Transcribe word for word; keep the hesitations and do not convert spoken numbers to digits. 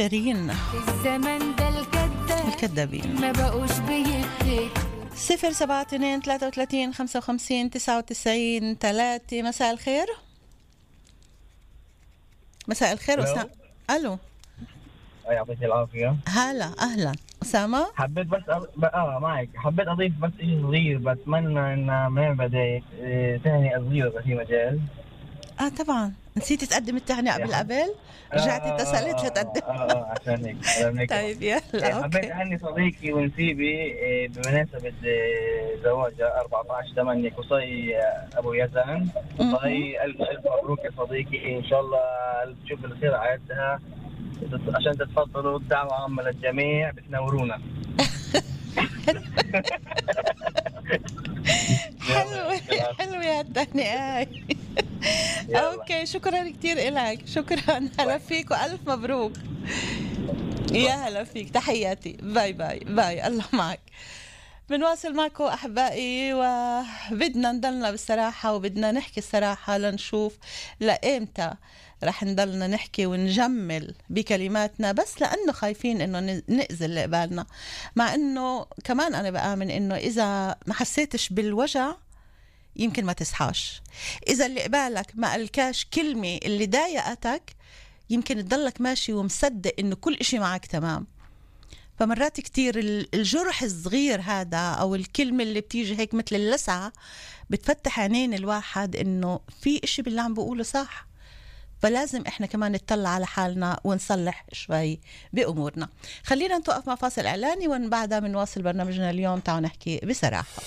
شيرين الزمن ده الكذاب الكذابين. ما بقوش بيبتك. صفر سبعة اثنين ثلاثة وثلاثين خمسة وخمسين تسعة وتسعين ثلاثة. مساء الخير. مساء الخير أسامة. ألو يعطيك العافية. هلا أهلا أسامة. حبيت بس أ... اه معك حبيت أضيف بس شيء صغير، بتمنى إن من بداية تهنئة صغيرة في مجال. اه طبعا نسيت تقدم التهنئة قبل قبل، رجعت آه اتصلت لتقدم. اه اه عشان هيك. طيب يلا حبيت اوكي. أهني صديقي ونسيبي بمناسبة زواجها أربعة عشر ثمانية قصي أبو يزن. قصي ألف ألف مبروك يا صديقي، إن شاء الله تشوف الخير عادها عشان تتفضلوا. الدعوة عامة للجميع، بتنورونا. حلوة حلوة هالتهنئة. اوكي شكرا كتير إلك، شكرا. هلا فيك والف مبروك. يا هلا فيك، تحياتي. باي باي باي. الله معك. بنواصل معكم أحبائي، وبدنا نضلنا بالصراحة وبدنا نحكي الصراحة لنشوف لإمتى رح نضلنا نحكي ونجمل بكلماتنا بس لأنه خايفين إنه نأذي اللي قبالنا. مع إنه كمان أنا بآمن إنه إذا ما حسيتش بالوجع يمكن ما تصحاش. إذا اللي قبالك ما قالكاش كلمة اللي ضايقتك يمكن تضلك ماشي ومصدق إنه كل إشي معك تمام. فمرات كتير الجرح الصغير هذا أو الكلمة اللي بتيجي هيك مثل اللسعة بتفتح عينين الواحد إنه في إشي باللي عم بقوله صح. فلازم إحنا كمان نطلع على حالنا ونصلح شوي بأمورنا. خلينا نتوقف مع فاصل إعلاني وبعدها بنواصل برنامجنا اليوم. تعالوا نحكي بصراحة.